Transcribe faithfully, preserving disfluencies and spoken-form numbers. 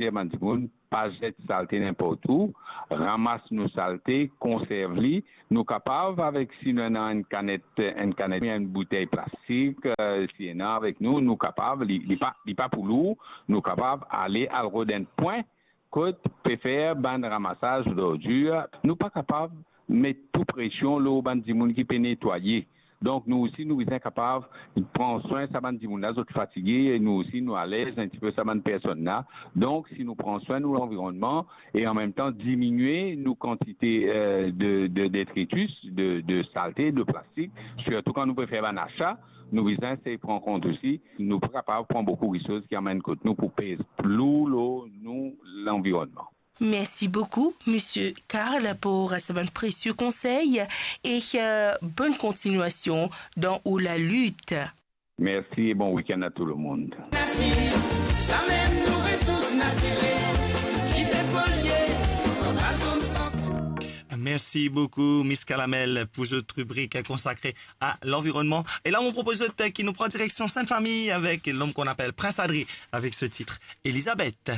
dir bann dimoun, pa zet salte ninport ou, ramas nou salte, konserv li. Nou kapav avek, si nou ena enn kanet, enn kanet, enn boutey plastik, eh, si ena avek nou, nou kapav, li, li pa, li pa pou lour, nou kapav ale al rod enn pwin kot pe fer bann ramasaz zordir. Nou pa kapav met tou presion lor bann dimoun ki pe netwaye. Donk, nou osi, nou bizin kapav pran swin sa bann dimoun la, zot fatige, e nou osi, nou alez enn tipe sa bann personn la. Donk, si nou pran swin nou lanvironnman e an mem tan diminie nou kantite, eh, de, de detritus, de, de salte, de plastik, sirtou kan nou pe fer bann asa, nou bizin se pran kont osi, nou pa kapav pran boukou kiksoz ki amenn kot nou pou pez lour lor nou lanvironnman. Merci beaucoup, Monsieur Karl, pour cette bonne précieux conseil et, euh, bonne continuation dans ou la lutte. Merci et bon week-end à tout le monde. Natir, samem nou resours natirel ki pe polie, nou pa zot san. Merci beaucoup, Miss Kalamel, pour cette rubrique consacrée à l'environnement. Et là, on propose qui nous prend direction Sainte-Famille avec l'homme qu'on appelle Prince Adri avec ce titre, Elisabeth.